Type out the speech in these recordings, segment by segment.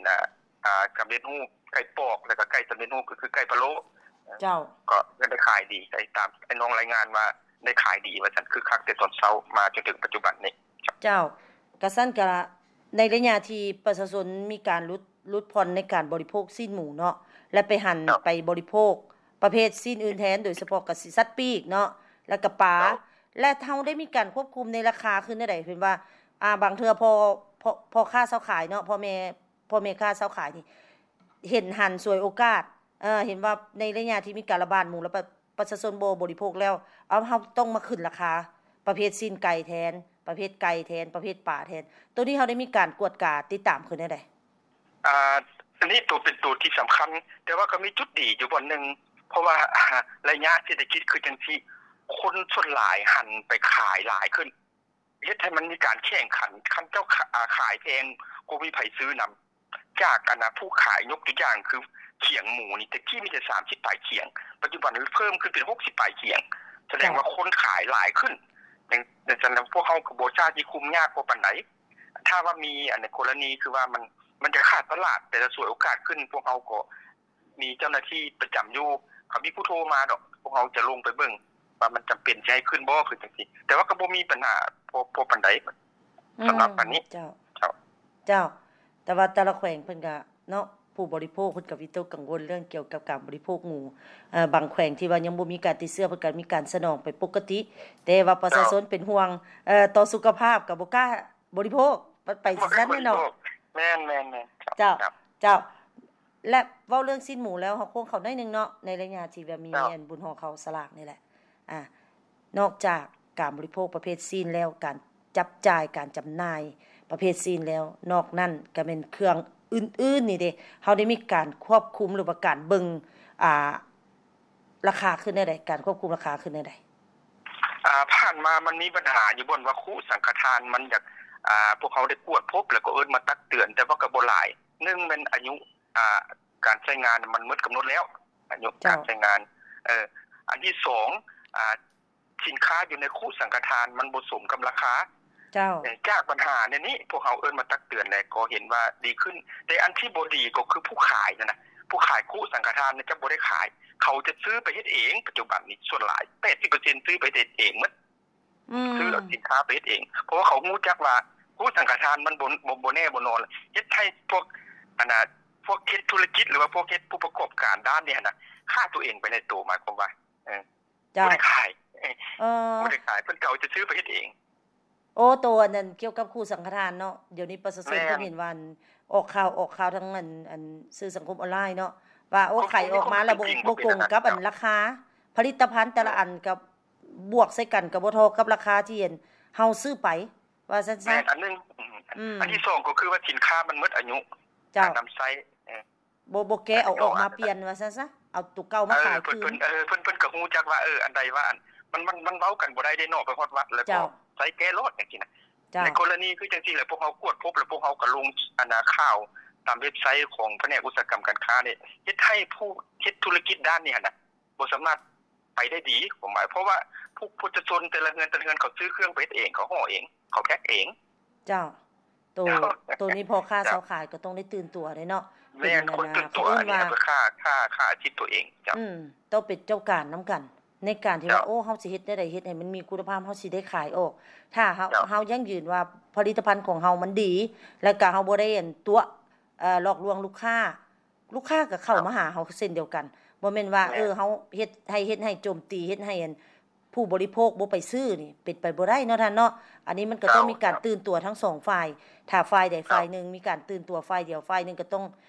ນະ ອ່າ ສຳເລັດຮູບ ໄກ່ປອກ ແລ້ວກໍໄກ່ສຳເລັດຮູບ ກໍຄືໄກ່ພະໂລ້ ເຈົ້າ ກໍຍັງໄດ້ຂາຍດີ ໄດ້ຕາມໄອ້ນ້ອງລາຍງານວ່າໄດ້ຂາຍດີວ່າຊັ້ນ ຄຶກຄັກແຕ່ຕອນເຊົ້າມາຈົນເຖິງປັດຈຸບັນນີ້. ເຈົ້າ ກະຊັ້ນກະ ໃນໄລຍະທີ່ປະຊາຊົນມີການຫຼຸດ ຫຼຸດຜ່ອນໃນການບໍລິໂພກຊີ້ນໝູເນາະ ແລະ ໄປຫັນ ເຈົ້າ ໄປບໍລິໂພກປະເພດຊີ້ນອື່ນແທນ ໂດຍສະເພາະກະສິສັດປີກເນາະ ແລ້ວກະປາ ເຈົ້າ ແລະ ເຮົາໄດ້ມີການຄວບຄຸມໃນລາຄາຄືແນວໃດ? ເຫັນວ່າ ອ່າ ບາງເທື່ອພໍ່ ພໍ່ ພໍ່ຄ້າຊາວຂາຍເນາະ ພໍ່ແມ່ ພໍ່ແມ່ຄ້າຊາວຂາຍນີ້ ເຫັນຫັນສວຍໂອກາດ ເອີ ເຫັນວ່າໃນໄລຍະທີ່ມີການລະບາດໝູ ແລ້ວປະ ປະຊາຊົນບໍ່ບໍລິໂພກແລ້ວ ເອົາ ເຮົາຕ້ອງມາຂຶ້ນລາຄາປະເພດຊີ້ນໄກ່ແທນ ປະເພດໄກ່ແທນ ປະເພດປາແທນ ໂຕນີ້ເຮົາໄດ້ມີການກວດກາຕິດຕາມຄືແນວໃດ? ອ່າ ອັນນີ້ໂຕເປັນໂຕທີ່ສຳຄັນ ແຕ່ວ່າກໍມີຈຸດດີຢູ່ບ່ອນໜຶ່ງ ເພາະວ່າ ໄລຍະເສດຖະກິດຄືຈັ່ງຊີ້ ຄົນສ່ວນຫຼາຍຫັນໄປຂາຍຫຼາຍຂຶ້ນ ເຮັດໃຫ້ມັນມີການແຂ່ງຂັນ ຄັນເຈົ້າຂາ ອາ ຂາຍແພງກໍບໍ່ມີໃຜຊື້ນຳ ຈາກ ອັນນະ ຜູ້ຂາຍ ຍົກຕົວຢ່າງຄືຂຽງໝູນີ້ ແຕ່ກີ້ມີແຕ່ສາມສິບປາຍຂຽງ ປັດຈຸບັນເພີ່ມຂຶ້ນເປັນຫົກສິບປາຍຂຽງ ສະແດງວ່າ ເຈົ້າ ຄົນຂາຍຫຼາຍຂຶ້ນ ຈັ່ງ ຈັ່ງຊັ້ນ ພວກເຮົາກໍບໍ່ຊາດຊິຄຸມຍາກພໍປານໃດ ຖ້າວ່າມີ ອັນ ໃນກໍລະນີຄືວ່າມັນ ມັນຈະຂາດຕະຫຼາດ ແຕ່ລະສວຍໂອກາດຂຶ້ນ ພວກເຮົາກໍ ມີເຈົ້າໜ້າທີ່ປະຈຳຢູ່ ເຂົາມີຜູ້ໂທມາດອກ ພວກເຮົາຈະລົງໄປເບິ່ງວ່າມັນຈຳເປັນຊິໃຫ້ຂຶ້ນບໍ່ ຄືຈັ່ງຊີ້ ແຕ່ວ່າກໍບໍ່ມີບັນຫາພໍ ພໍປານໃດ ອືມ ສຳລັບອັນນີ້ ເຈົ້າ ເຈົ້າ ເຈົ້າ ແຕ່ວ່າແຕ່ລະແຂວງເພິ່ນກະເນາະ ຜູ້ບໍລິໂພກເພິ່ນກະວິຕົກກັງວົນເລື່ອງກ່ຽວກັບການບໍລິໂພກໝູ ເອີ ບາງແຂວງທີ່ວ່າຍັງບໍ່ມີການຕິດເຊື້ອ ເພິ່ນກະມີການສະໜອງໄປປົກກະຕິ ແຕ່ວ່າປະຊາຊົນ ເຈົ້າ ເປັນຫ່ວງ ເອີ ຕໍ່ສຸຂະພາບ ກະບໍ່ກ້າ ບໍລິໂພກ ໄປ ໄປຊັ້ນແນ່ເນາະ ແມ່ນໆໆ ເຈົ້າ ເຈົ້າ ເຈົ້າ ແລະ ເວົ້າເລື່ອງຊີ້ນໝູແລ້ວ ເຮົາໂຄ້ງເຂົ້າໜ້ອຍໜຶ່ງເນາະ ໃນໄລຍະທີ່ແບບມີ ເຈົ້າ ອັນບຸນຫໍ່ເຂົ້າສະຫຼາກນີ້ແຫຼະ ອາ ນອກຈາກການບໍລິໂພກປະເພດຊີ້ນແລ້ວ ການຈັບຈ່າຍ ການຈຳໜ່າຍປະເພດຊີ້ນແລ້ວ ນອກນັ້ນກະແມ່ນເຄື່ອງອື່ນໆນີ້ເດ ເຮົາໄດ້ມີການຄວບຄຸມ ຫຼືວ່າການເບິ່ງ ອາ ລາຄາຂຶ້ນແນວໃດ? ການຄວບຄຸມລາຄາຂຶ້ນແນວໃດ? ອ່າ ຜ່ານມາມັນມີບັນຫາຢູ່ບ່ອນວ່າຄຸສັງຄະທານມັນຢາກ ອ່າ ພວກເຮົາໄດ້ກວດພົບ ແລ້ວກໍເອີ້ນມາຕັກເຕືອນ ແຕ່ວ່າກໍບໍ່ຫຼາຍ ໜຶ່ງແມ່ນອາຍຸ ອ່າ ການໃຊ້ງານມັນໝົດກຳນົດແລ້ວ ອາຍຸ ເຈົ້າ ການໃຊ້ງານ ເອີ ອັນທີສອງ ອ່າ ສິນຄ້າຢູ່ໃນຄຸສັງຄະທານມັນບໍ່ສົມກັບລາຄາ ເຈົ້າ ເອີ ຈາກບັນຫາແນວນີ້ ພວກເຮົາເອີ້ນມາຕັກເຕືອນ ແລະ ກໍເຫັນວ່າດີຂຶ້ນ ແຕ່ອັນທີ່ບໍ່ດີກໍຄືຜູ້ຂາຍນັ້ນນະ ຜູ້ຂາຍຄຸສັງຄະທານຈະບໍ່ໄດ້ຂາຍ ເຂົາຈະຊື້ໄປເຮັດເອງ ປັດຈຸບັນນີ້ສ່ວນຫຼາຍ ແປດສິບເປີເຊັນ ຊື້ໄປເຮັດເອງໝົດ ອືມ ຊື້ເອົາສິນຄ້າໄປເຮັດເອງ ເພາະວ່າເຂົາຮູ້ຈັກວ່າຄຸສັງຄະທານມັນບໍ່ ບໍ່ ບໍ່ແນ່ບໍ່ນອນ ເຮັດໃຫ້ພວກ ອັນນະ ພວກເຮັດທຸລະກິດ ຫຼືວ່າພວກເຮັດຜູ້ປະກອບການດ້ານນີ້ຫັ້ນນະ ຂ້າຕົວເອງໄປໃນໂຕ ໝາຍຄວາມວ່າ ເອີ ເຈົ້າ ບໍ່ໄດ້ຂາຍ ເອີ ບໍ່ໄດ້ຂາຍ ເພິ່ນເຂົາຈະຊື້ໄປເຮັດເອງ. ໂອ້ ໂຕອັນນັ້ນກ່ຽວກັບຄູສັງຄະທານເນາະ ດຽວນີ້ປະຊາຊົນ ແມ່ນ ເພິ່ນເຫັນວ່າອອກຂ່າວ ອອກຂ່າວທາງອັນ ອັນສື່ສັງຄົມອອນລາຍເນາະ ວ່າ ໂອ້ ຂາຍອອກມາແລ້ວບໍ່ ບໍ່ກົງກັບອັນລາຄາຜະລິດຕະພັນແຕ່ລະອັນ ກໍບວກໃສ່ກັນກໍບໍ່ທໍ່ກັບລາຄາທີ່ອັນເຮົາຊື້ໄປ ວ່າຊັ້ນຊະ ແມ່ນອັນໜຶ່ງ ອືມ ອັນທີສອງກໍຄືວ່າສິນຄ້າມັນໝົດອາຍຸ ເຈົ້າ ການນຳໃຊ້ ເອີ ບໍ່ ບໍ່ແກະເອົາອອກມາປ່ຽນວ່າຊັ້ນຊະ ເອົາໂຕເກົ່າມາຂາຍຄືນ ເອີ ເພິ່ນ ເອີ ເພິ່ນ ເພິ່ນກໍຮູ້ຈັກວ່າ ເອີ ອັນໃດວ່າອັນ ມັນ ມັນ ມັນເວົ້າກັນບໍ່ໄດ້ເດ້ເນາະ ໄປຮອດວັດແລ້ວກໍໃຊ້ແກະໂລດຈັ່ງຊີ້ນະ ເຈົ້າ ໃນກໍລະນີຄືຈັ່ງຊີ້ແຫຼະ ພວກເຮົາກວດພົບ ແລ້ວພວກເຮົາກໍລົງ ອັນນາ ຂ່າວຕາມເວັບໄຊຂອງພະແນກອຸດສາຫະກຳການຄ້ານີ້ ເຮັດໃຫ້ຜູ້ເຮັດທຸລະກິດດ້ານນີ້ຫັ້ນນະ ບໍ່ສາມາດໄປໄດ້ດີ ຄວາມໝາຍ ເພາະວ່າຜູ້ ປະຊາຊົນແຕ່ລະເຮືອນ ແຕ່ລະເຮືອນ ເຂົາຊື້ເຄື່ອງໄປເຮັດເອງ ເຂົາຫໍ່ເອງ ເຂົາແພັກເອງ. ເຈົ້າ ໂຕ ໂຕນີ້ພໍ່ຄ້າຊາວຂາຍກໍຕ້ອງໄດ້ຕື່ນຕົວເດ້ເນາະ ແມ່ນ ເປັນ ຄົນຕື່ນຕົວ ເຂົາເອີ້ນວ່າ ອັນນີ້ຄືຄ່າ ຄ່າ ຄ່າອາຊີບຕົວເອງ. ເຈົ້າ ອືມ ຕ້ອງເປັນເຈົ້າການນຳກັນ ໃນການທີ່ວ່າ ໂອ້ ເຮົາຊິເຮັດແນວໃດເຮັດໃຫ້ມັນມີຄຸນນະພາບ ເຮົາຊິໄດ້ຂາຍອອກ ຖ້າເຮົາ ເຮົາຢັ້ງຢືນວ່າຜະລິດຕະພັນຂອງເຮົາມັນດີ ແລ້ວກະເຮົາບໍ່ໄດ້ ອັນ ຕົວະ ເອີ ຫຼອກລວງລູກຄ້າ ລູກຄ້າກໍເຂົ້າມາຫາເຮົາເຊັ່ນດຽວກັນ ບໍ່ແມ່ນວ່າ ເອີ ເຮົາເຮັດໃຫ້ ເຮັດໃຫ້ໂຈມຕີ ເຮັດໃຫ້ ອັນ ຜູ້ບໍລິໂພກບໍ່ໄປຊື້ນີ້ ເປັນໄປບໍ່ໄດ້ເນາະທ່ານເນາະ ອັນນີ້ມັນກໍຕ້ອງມີການຕື່ນຕົວທັງສອງຝ່າຍ ຖ້າຝ່າຍໃດຝ່າຍໜຶ່ງມີການຕື່ນຕົວ ຝ່າຍດຽວ ຝ່າຍໜຶ່ງກໍຕ້ອງ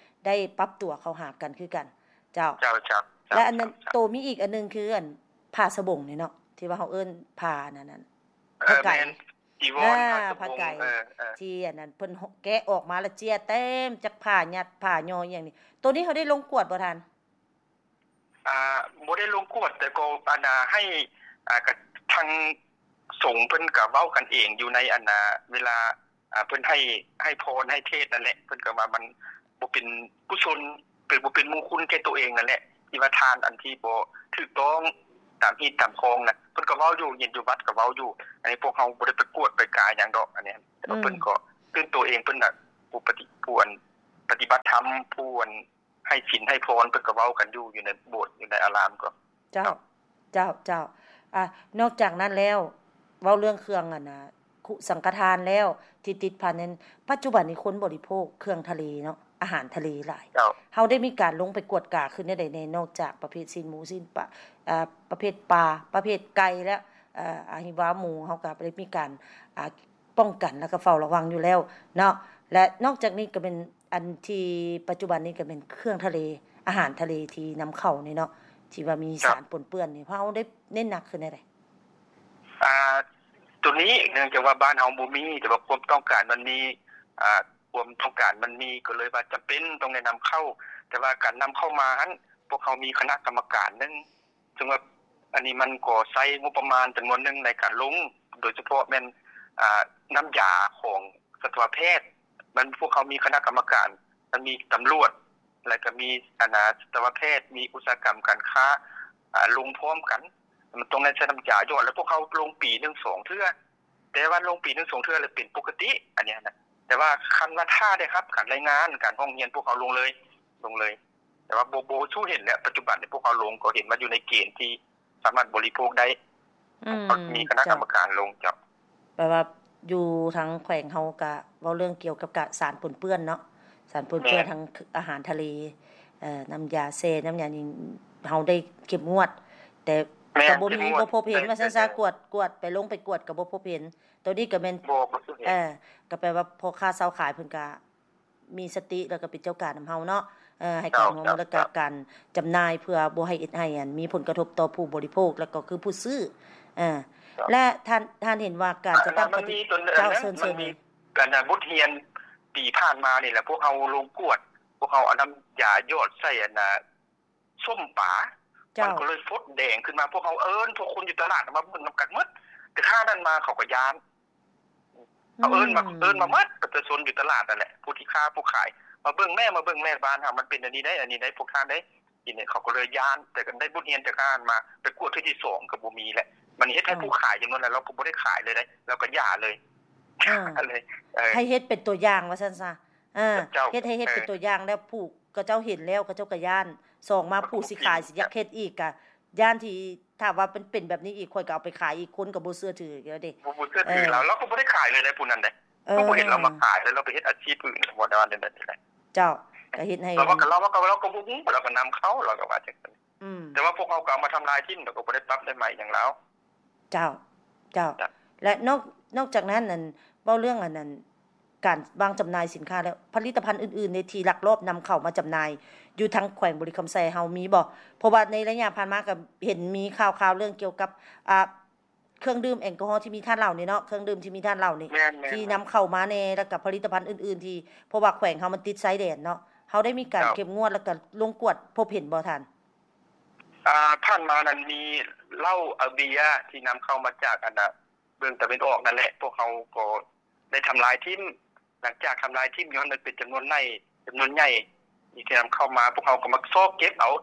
ໄດ້ປັບຕົວເຂົ້າຫາກັນຄືກັນ. ເຈົ້າ ເຈົ້າ ເຈົ້າ ແລະ ອັນນັ້ນ ໂຕມີອີກອັນໜຶ່ງຄື ອັນ ຜ້າສະບົງນີ້ເນາະ ທີ່ວ່າເຮົາເອີ້ນຜ້າອັນນັ້ນ ເອີ ຜ້າໄກ ແມ່ນ ຈີວອນ ອ່າ ຜ້າສະບົງ ຜ້າໄກ ເອີ ເອີ ທີ່ອັນນັ້ນເພິ່ນແກະອອກມາແລ້ວເຈ້ຍເຕັມຈັກຜ້າ ຍັດຜ້າຍໍອີ່ຫຍັງນີ້ ໂຕນີ້ເຮົາໄດ້ລົງກວດບໍ່ທ່ານ? ອ່າ ບໍ່ໄດ້ລົງກວດ ແຕ່ກໍ ອັນນາ ໃຫ້ ອ່າ ກະ ທາງສົງເພິ່ນກະເວົ້າກັນເອງຢູ່ໃນ ອັນນາ ເວລາ ອ່າ ເພິ່ນໃຫ້ ໃຫ້ພອນໃຫ້ເທດນັ້ນແຫຼະ ເພິ່ນກໍວ່າມັນບໍ່ເປັນກຸສົນ ເປັນ ບໍ່ເປັນມຸງຄຸນແກ່ຕົວເອງນັ້ນແຫຼະ ທີ່ວ່າທານອັນທີ່ບໍ່ຖືກຕ້ອງຕາມຮີດຕາມຄອງນະ ເພິ່ນກໍເວົ້າຢູ່ ເຫັນຢູ່ວັດກໍເວົ້າຢູ່ ອັນນີ້ພວກເຮົາບໍ່ໄດ້ໄປກວດໄປກາຫຍັງດອກ ອັນນີ້ ອືມ ເພິ່ນກໍຕື່ນຕົວເອງ ເພິ່ນນະ ຜູ້ປະຕິ ຜູ້ອັນ ປະຕິບັດທຳ ຜູ້ອັນໃຫ້ສິນໃຫ້ພອນ ເພິ່ນກໍເວົ້າກັນຢູ່ ຢູ່ໃນໂບດ ຢູ່ໃນອາລາມກໍ. ເຈົ້າ ເຈົ້າ ເຈົ້າ ເຈົ້າ. ອາ ນອກຈາກນັ້ນແລ້ວ ເວົ້າເລື່ອງເຄື່ອງອັນນະ ຄຸສັງຄະທານແລ້ວ ທີ່ຕິດພັນນັ້ນ ປັດຈຸບັນນີ້ຄົນບໍລິໂພກເຄື່ອງທະເລເນາະ ອາຫານທະເລຫຼາຍ. ເຈົ້າ. ເຮົາໄດ້ມີການລົງໄປກວດກາຄືແນວໃດແດ່ ນອກຈາກປະເພດຊີ້ນໝູ ຊີ້ນປາ ອາ ປະເພດປາ ປະເພດໄກ່ ແລະ ອາ ອາ ຫິວາໝູ ເຮົາກໍໄດ້ມີການ ອາ ປ້ອງກັນ ແລ້ວກໍເຝົ້າລະວັງຢູ່ແລ້ວເນາະ. ແລະ ນອກຈາກນີ້ກໍແມ່ນ ອັນທີ່ປັດຈຸບັນນີ້ກໍແມ່ນເຄື່ອງທະເລ ອາຫານທະເລທີ່ນຳເຂົ້ານີ້ເນາະ ທີ່ວ່າມີ ເຈົ້າ ສານປົນເປື້ອນນີ້ ເຮົາໄດ້ເນັ້ນໜັກຂຶ້ນແນວໃດ? ອ່າ ໂຕນີ້ເນື່ອງຈາກວ່າບ້ານເຮົາບໍ່ມີ ແຕ່ວ່າຄວາມຕ້ອງການມັນມີ ອ່າ ຄວາມຕ້ອງການມັນມີ ກໍເລີຍວ່າຈຳເປັນຕ້ອງໄດ້ນຳເຂົ້າ. ແຕ່ວ່າການນຳເຂົ້າມາຫັ້ນ ພວກເຮົາມີຄະນະກຳມະການໜຶ່ງ ເຊິ່ງວ່າອັນນີ້ມັນກໍໃຊ້ງົບປະມານຈຳນວນໜຶ່ງໃນການລົງ ໂດຍສະເພາະແມ່ນ ອ່າ ນ້ຳຢາຂອງສັດຕະວະແພດ. ມັນ ພວກເຮົາມີຄະນະກຳມະການ ມັນມີຕຳຫຼວດ ແລ້ວກໍມີອັນນາ ສັດຕະວະແພດ ມີອຸດສາຫະກຳການຄ້າ ອ່າ ລົງພ້ອມກັນ. ມັນຕ້ອງໄດ້ໃຊ້ນ້ຳຢາຢອດ ແລ້ວພວກເຮົາລົງປີໜຶ່ງສອງເທື່ອ. ແຕ່ວ່າລົງປີໜຶ່ງສອງເທື່ອແລ້ວເປັນປົກກະຕິ ອັນນີ້ນະ. ແຕ່ວ່າຄັນວ່າຖ້າໄດ້ຮັບການລາຍງານ ການຮ້ອງຮຽນ ພວກເຮົາລົງເລີຍ ລົງເລີຍ. ແຕ່ວ່າບໍ່ ບໍ່ສູ້ເຫັນແລ້ວ ປັດຈຸບັນນີ້ພວກເຮົາລົງກໍເຫັນວ່າຢູ່ໃນເກນທີ່ສາມາດບໍລິໂພກໄດ້. ອືມ ເຂົາມີຄະນະກຳມະການລົງ. ເຈົ້າ. ເຈົ້າ ແປວ່າຢູ່ທາງແຂວງເຮົາກະເວົ້າເລື່ອງກ່ຽວກັບການສານປົນເປື້ອນເນາະ ສານປົນເປື້ອນ ແມ່ນ ທາງອາຫານທະເລ ເອີ ນ້ຳຢາແຊ່ ນ້ຳຢາຫຍັງ ເຮົາໄດ້ເຂັ້ມງວດ ແຕ່ ແມ່ນ ກໍບໍ່ມີ ເຂັ້ມງວດ ບໍ່ພົບເຫັນ ແມ່ນ ວ່າຊັ້ນຊະ ແມ່ນ ກວດ ກວດໄປ ລົງໄປກວດກໍບໍ່ພົບເຫັນ. ໂຕນີ້ກໍແມ່ນ ບໍ່ ບໍ່ເຫັນ ເອີ ກໍແປວ່າພໍ່ຄ້າຊາວຂາຍເພິ່ນກະ ມີສະຕິ ແລ້ວກໍເປັນເຈົ້າການນຳເຮົາເນາະ ເອີ ໃຫ້ການຮ່ວມມື ເຈົ້າ ແລ້ວກໍ ເຈົ້າ ການຈຳໜ່າຍ ເພື່ອບໍ່ໃຫ້ເຮັດໃຫ້ ອັນ ມີຜົນກະທົບຕໍ່ຜູ້ບໍລິໂພກ ແລ້ວກໍຄືຜູ້ຊື້ ເອີ ເຈົ້າ ແລະ ທ່ານ ທ່ານເຫັນວ່າການຈັດຕັ້ງປະຕິ ເຈົ້າ ເຊີນ ເຊີນ ມັນມີ ເຊີນ ອັນ ບົດຮຽນປີຜ່ານມານີ້ແຫຼະ ພວກເຮົາລົງກວດ ພວກເຮົາເອົານ້ຳຢາຢອດໃສ່ ອັນ ສົ້ມປາ ເຈົ້າ ມັນກໍເລີຍຟົດແດງຂຶ້ນມາ. ພວກເຮົາເອີ້ນພວກຄົນຢູ່ຕະຫຼາດມາເບິ່ງນຳກັນໝົດ ແຕ່ຂ້ານັ້ນມາເຂົາກໍຢ້ານ. ເຂົາເອີ້ນມາ ອືມ ເອີ້ນມາໝົດ ປະຊາຊົນຢູ່ຕະຫຼາດນັ້ນແຫຼະ ຜູ້ທີ່ຄ້າຜູ້ຂາຍ ມາເບິ່ງແມ້ ມາເບິ່ງແມ້ ບ້ານເຮົາມັນເປັນອັນນີ້ໄດ໋ ອັນນີ້ໄດ໋ ພວກທ່ານໄດ໋ ທີນີ້ເຂົາກໍເລີຍຢ້ານ. ແຕ່ກໍໄດ້ບົດຮຽນຈາກອັນນັ້ນມາ ໄປກວດເທື່ອທີສອງກໍບໍ່ມີແຫຼະ. ມັນເຮັດໃຫ້ ເອີ ຜູ້ຂາຍຈຳນວນຫຼາຍ ລາວກໍບໍ່ໄດ້ຂາຍເລີຍເດ ລາວກໍຢ່າເລີຍ ເອີ ເລີຍ ເອີ ໃຫ້ເຮັດເປັນຕົວຢ່າງວ່າຊັ້ນຊະ. ເອີ ເຈົ້າ ເຮັດໃຫ້ເຮັດເປັນຕົວຢ່າງແລ້ວ ຜູ້ເຂົາເຈົ້າເຫັນແລ້ວ ເຂົາເຈົ້າກໍຢ້ານ. ສອງມາ ເຂົາກໍ ຜູ້ຊິຂາຍ ບໍ່ເປັນ ຊິຢາກເຮັດອີກ ກໍຢ້ານທີ່ ຖ້າວ່າມັນເປັນແບບນີ້ອີກ ຂ້ອຍກໍເອົາໄປຂາຍອີກ ຄົນກໍບໍ່ເຊື່ອຖືແລ້ວເດ. ບໍ່ ບໍ່ເຊື່ອຖື ເອີ ລາວ ລາວກໍບໍ່ໄດ້ຂາຍເລີຍໃດ໋ ຜູ້ນັ້ນເດ. ເອີ ກໍບໍ່ເຫັນລາວມາຂາຍເລີຍ ລາວໄປເຮັດອາຊີບອື່ນ ບໍ່ໄດ້ວ່າແນວໃດ. ເຈົ້າ ກໍເຮັດໃຫ້ ລາວວ່າ ລາວວ່າ ລາວກໍບໍ່ຮູ້ ລາວກໍນຳເຂົ້າ ລາວກໍວ່າຈັ່ງຊັ້ນ. ອືມ ແຕ່ວ່າພວກເຮົາກໍເອົາມາທຳລາຍຖິ້ມ ລາວກໍບໍ່ໄດ້ປັບໄດ້ໃໝຫຍັງລາວ. ເຈົ້າ ເຈົ້າ ເຈົ້າ ແລະ ນອກ ນອກຈາກນັ້ນ ອັນ ເວົ້າເລື່ອງ ອັນ ອັນ ການວາງຈຳໜ່າຍສິນຄ້າແລ້ວ ຜະລິດຕະພັນອື່ນໆ ໃນທີ່ລັກລອບນຳເຂົ້າມາຈຳໜ່າຍຢູ່ທາງແຂວງບໍລິຄຳໄຊເຮົາມີບໍ່? ເພາະວ່າໃນໄລຍະຜ່ານມາກໍເຫັນມີຂ່າວໆ ເລື່ອງກ່ຽວກັບ ອ່າ ເຄື່ອງດື່ມແອລກໍຮໍທີ່ມີທາດເຫຼົ້ານີ້ເນາະ ເຄື່ອງດື່ມທີ່ມີທາດເຫຼົ້ານີ້ ແມ່ນໆໆ ທີ່ນຳເຂົ້າມາແດ່ ແລ້ວກໍຜະລິດຕະພັນອື່ນໆ ທີ່ ເພາະວ່າແຂວງເຮົາມັນຕິດຊາຍແດນເນາະ ເຮົາໄດ້ມີການ ເຈົ້າ ເຂັ້ມງວດ ແລ້ວກໍລົງກວດພົບເຫັນບໍ່ທ່ານ? ອ່າ ຜ່ານມານັ້ນມີເຫຼົ້າ ອາເບຍ ທີ່ນຳເຂົ້າມາຈາກ ອັນນະ ເບື້ອງຕາເວັນອອກນັ້ນແຫຼະ ພວກເຮົາກໍໄດ້ທຳລາຍຖິ້ມ. ຫຼັງຈາກທຳລາຍຖິ້ມຢູ່ຫັ້ນ ມັນເປັນຈຳນວນໃຫຍ່ ຈຳນວນໃຫຍ່ທີ່ນຳເຂົ້າມາ ພວກເຮົາກໍມາຊອກເກັບເອົາ